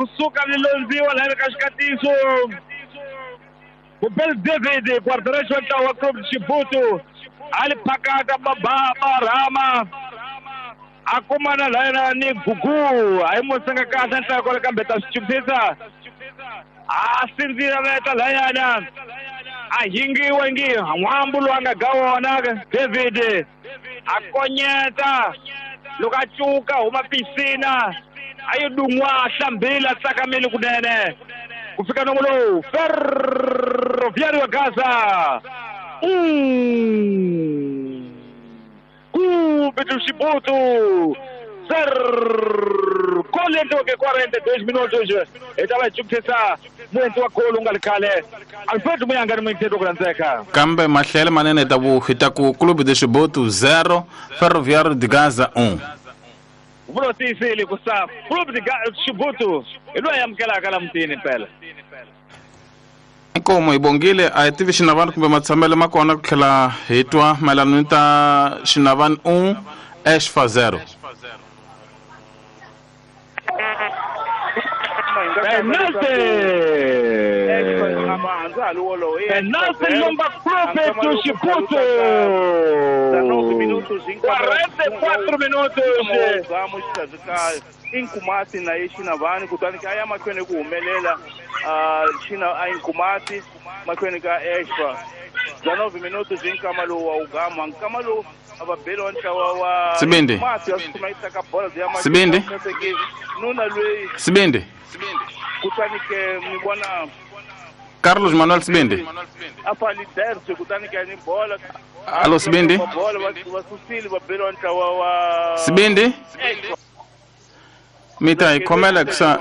Kusuka lilondziwa laha ka xikatiso Kubel David guarda-redes wa ntlawa wa Clube Chibuto a li phakata barhama a kumana layena ni Gugu a yi musenga kahle nhlayo kwale kambe ta swi chukisisa a sindzira veta layana a hingiwe ngi n'wambu lowu a nga ga wona David a konyeta loko a cuka huma pisina a yi dun'wa a hlambile a tsakamile kunene ku fika nomo lowu Ferroviário wa Gaza Clube do Chibuto 0 gol endliweke 42 minutos hi ta va hi chukisisa muendzi wa golo u nga ri khale Alfred Muyanga ni muyingiseri ku rhandzeka kambe mahlele manene ta ku hi ta ku Clube de Chibuto 0 Ferroviário de Gaza 1 vulo tiyisile ku sa Clube de Chibuto hi loyi amukelaka la mutini mpela inkomo hi bongile a hi tivi xinavani kumbe matshamelo ma kona ku tlhela hi twa mayelana ni ta xinavani 1 Exfa 0 Penalty! Penalty lomba Clube do Chibuto! 44 minutos! Inkumati na ye Xinavani kutani ka ya mahlweni ku humelela xina a Inkumati mahlweni ka Exfa 19 minutos hi nkama lowu wa ugama nkama lowu a va beliwa ntlawa wa Sibindi Inkumati ya sukuma yi teka bola ya Sibindi nuna lweyi Sibindi kutani ke ni vona Carlos Manuel Sibindi a fa liderse kutani ke ni bola Alo Sibindi bola va susile va beliwa ntlawa wa Sibindi mita hi khomela ku sa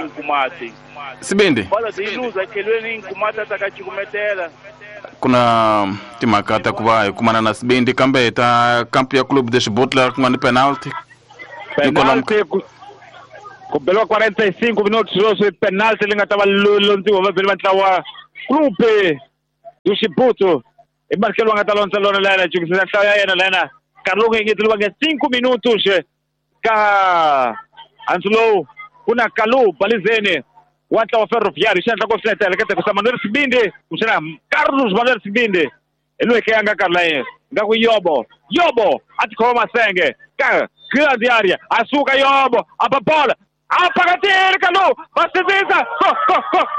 Inkumati Sibindi bola yi luza khelweni Inkumati a ta ka cukumetela ku na timhaka ta ku va hi kumana na Sibindi kambe hi ta kampu ya Clube de Chibuto laha ku nga ni penalty penalty ku beliwa 45 minutos sweswi penalty leyi nga ta va londziwa vabeli va ntlawa Clube do Chibuto i Marcelo va nga ta londza lona layena cukisisa nhlayo ya yena layena nkarhi lowu nga engeteriwanga 5 minutos ka hansi lowu ku na Kalu Balizeni wa ntlawa Ferroviário xi endla ku swi heleketa ku sa Manuel Sibindi kumbexana Carlos Manuel Sibindi hi loyi ke a nga karhi layeni nga ku Yobo Yobo a tikhoma masenge ka grande area a suka Yobo a ba bola a phakatile Kalu va sindzisa go go go.